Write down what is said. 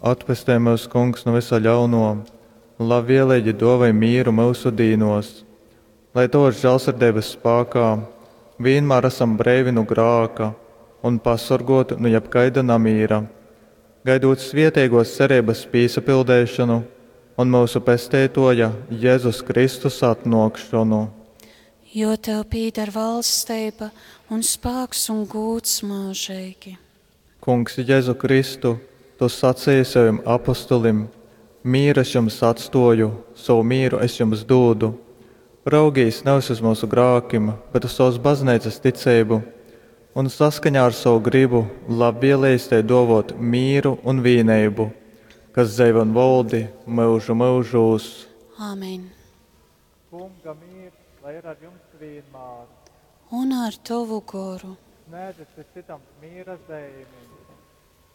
Atpestej myus, Kungs, nu vysa ļaunuo, un labvieleigi duovoj mīru myusu dīnuos, lai tovys žāļsirdeibys spākā vīnmār asam breivi nu grāka un pasorguoti nu jebkaida namīra, gaidūt svieteiguos cereibys pīsapildeišonu un myusu Pesteituoja Jezus Kristus atnuokšonu. Jo tev pīdar valsteiba un spāks un gūds myužeigi. Kungs Jezu Kristu, tu saceji sovim apostolim, Mīru es jums atstōju, sovu mīru es jums dūdu. Raugīs nevis uz myusu grākim, bet uz sovas bazneicas ticeibu un saskaņā ar sovu grybu labvieleigi tai dōvōt mīru un vīneibu, kas dzeivoj un voldi myužu myužūs. Āmen. Kunga mīrs, lai ir ar jums vīnmār. Un ar tovu goru. Snēdzit cits cytam mīra zeimi.